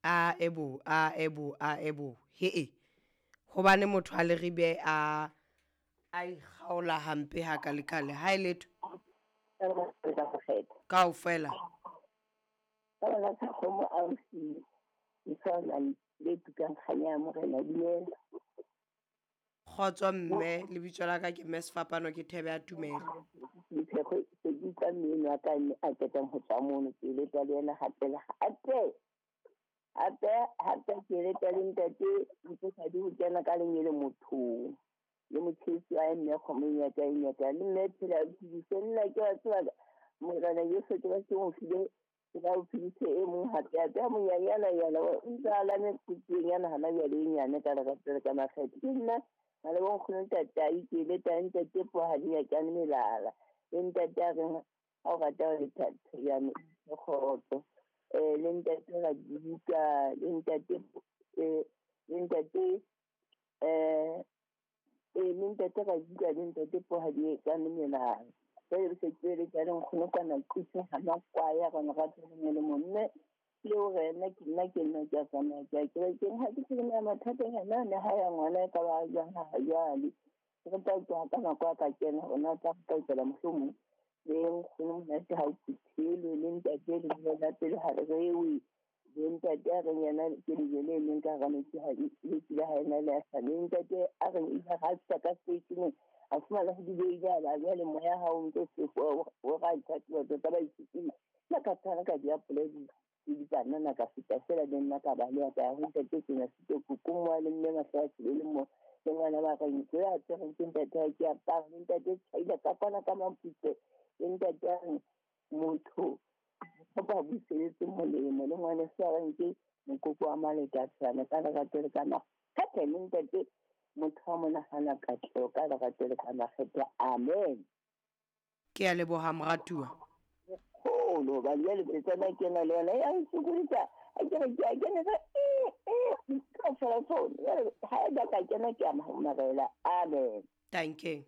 A ebo, a ebo, a ebo, he-e. Hobane motho a Leribe a a ikgaola hampe hakalekale, ha e letho. Kaofela. Ka bana sa kgomo ausi leswana le tukang kganya ya morena dumela. Kgotso mme, lebitso la ka ke mme Sefapano ke thebe ya tumelo. Dipheko se ke utlwa mme wa ka mme a qetang ho tswa mono ke leta le yena hape le hape. Hape hape ke leta le ntate Mosadi ho kena ka lenyele mothong. Le motjhesi wa mme kgomo e nyata e nyata le mme phela phedise nna ke wa tseba morena Jesu ke ba se mo file ke ba o phedise e mong hape hape a monyanyana yana o ntse a lame kutsweng yana hana jwale e nyane ka lerato le ka makgethe ke nna ha le bonkgono ntatai ke leta ntate Pohadi ya kane melala le ntate a reng ha o rata ho lethatho ya me kgotso le ntate Radibuka le ntate le ntate le ntate Radibuka le ntate Pohadi ka melala jwale re se ke le tsa nkgono kana qise ha makwaya rona rato le le mme le hore nna ke nna ke nna ke a tsamaya ke a kerekeng ha ke tsebe mathatanyana ne ha ya ngwana e ka ba jwang ha jwale re tla utlwa ka nako a ka kena ona tla re tla mohlomong le nkgono monate ha o phuthelwe le ntate le la pele ha re rewe le ntate a reng yena ke lejwe le leng ka hara metsi ha le tsile ha ena le a le ntate a reng ile ha fihla ka seteisheneng a fumana ho dibeile a ba jwale moya ha o ntse sefo o ra ithatela tsa ba itshupile nna ka tshwana ka diapole le dipanana ka feta fela le nna ka baleha ka ya ho ntate kenya setoko ko moa le mme mahlo a tsebe le mo le ngwana ba reng ke ya tsereng ke ntate ha ke apara le ntate tjhaile ka kwana ka mamputse le ntate a reng motho o ba buseletse molemo le ngwana se a reng ke mokoko wa malekatshana ka lerato le ka makgethe le ntate motho wa monahana katleho ka lerato le ka makgethe amen. Ke a leboha moratuwa. Kgolo hobane jwale petsana ke na le yona ya nsokodisa ha ke re ke a kena ka kaofela tsone jwale ha e ba ka kena ke a marela amen. Danke.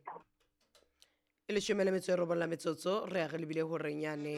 E 18 la metsotso re ya re lebile horeng yane.